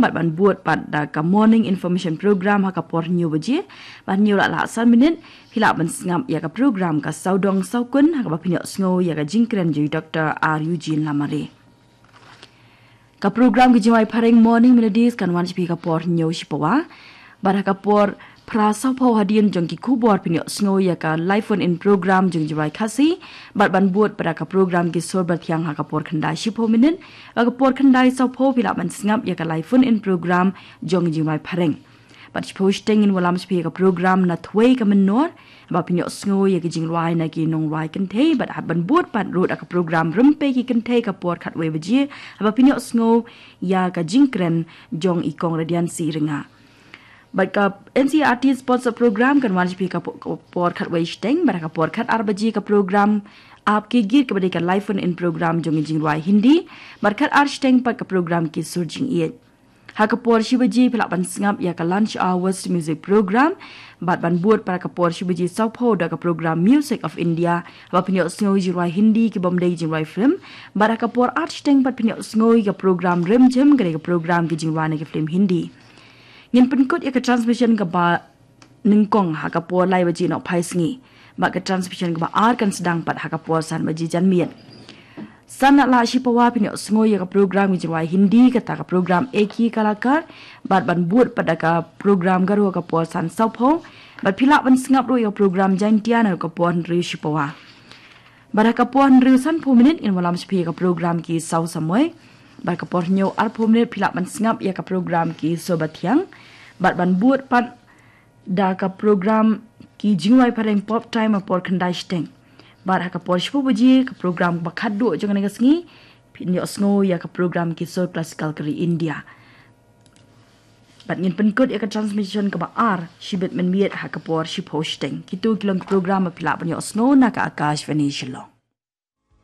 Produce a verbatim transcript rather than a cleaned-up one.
Bad ban bud pat da ka Morning Information Program ha ka por hynñiew baje, bad hynñiew la lah san minit, phi lah ban sngap ïa ka program ka Sawdong Sawkun, ha kaba phin ïohsngew ïa ka jingkren jong i Doktor R Eugene Lamare. Ka program ki jingrwai phareng Morning Melodies kan wan sha phi ha ka por hynñiew shipawa. Bad ha ka por phra sawphew hadien jong ki khubor phin ïohsngew ïa ka live phone in program jong jingrwai Khasi. Bad ban bud pat da ka program ki sur bathiang ha ka por khyndai shiphew minit. Ha ka por khyndai sawphew phi lah ban sngap ïa ka live phone in program jong jingrwai phareng. Bad shiphew shiteng ngin wallam sha phi ïa ka program Na Thwei Ka Mynnor, haba phin ïohsngew ïa ki jingrwai na ki nongrwai kynthei, bad hap ban bud pat ruh da ka program Rympei ki Kynthei ka por khatwei baje, haba phin ïohsngew ïa ka jingkren jong i Kong Radiancy Rynga. Bad ka N C E R T sponsored program kan wan sha phi ka po-, ka por khatwei shiteng, bad ha ka por khatar baje ka program Aap Ke Geet kaba dei ka live phone in program jong i jingrwai Hindi, bad khatar shiteng pat ka program Ki Sur Jingïeit. Ha ka por shi baje phi lah ban sngap ïa ka Lunch Hour Western Music Program, bad ban bud pat ha ka por shi baje sawphew da ka program Music of India, haba phin ïohsngew jingrwai Hindi ki bym dei jingrwai film, bad ha ka por ar shiteng pat phin ïohsngew ïa ka program Rimjhim, ka dei ka program ki jingrwai na ki film Hindi. Ngin pynkut ïa ka transmission kaba nyngkong ha ka por lai baje nohphai sngi. Bad ka transmission kaba ar kan sdang pat ha ka por san baje janmiet. San la lah shipawa phin ïohsngew ïa ka program ki jingrwai Hindi, kata ka program Ek Hi Kalakar, bad ban bud pat da ka program Garo ha ka por san sawphew, bad phi lah ban sngap ruh ïa ka program Jaintia na ka por hynriew shipawa. Bad ha ka por hynriew sanphew minit ngin wallam sha phi ïa ka program Ki Saw Samoi. Bad ha ka por hynñiew arphew minit phi lah ban sngap ïa ka program Ki Sur Bathiang. Bad ban bud pat da ka program ki jingrwai phareng Pop Time ha por khyndai shiteng. Bad ha ka por shiphew baje ka program ba khatduh jong kane ka sngi, phin ïohsngew ïa ka program Ki Sur Classical ka ri India. Bad ngin pynkut ïa ka transmission kaba ar shibit mynmiet ha ka por shiphew shiteng. Kito ki long ki program ba phi lah ban ïohsngew na ka Akashvani Shillong.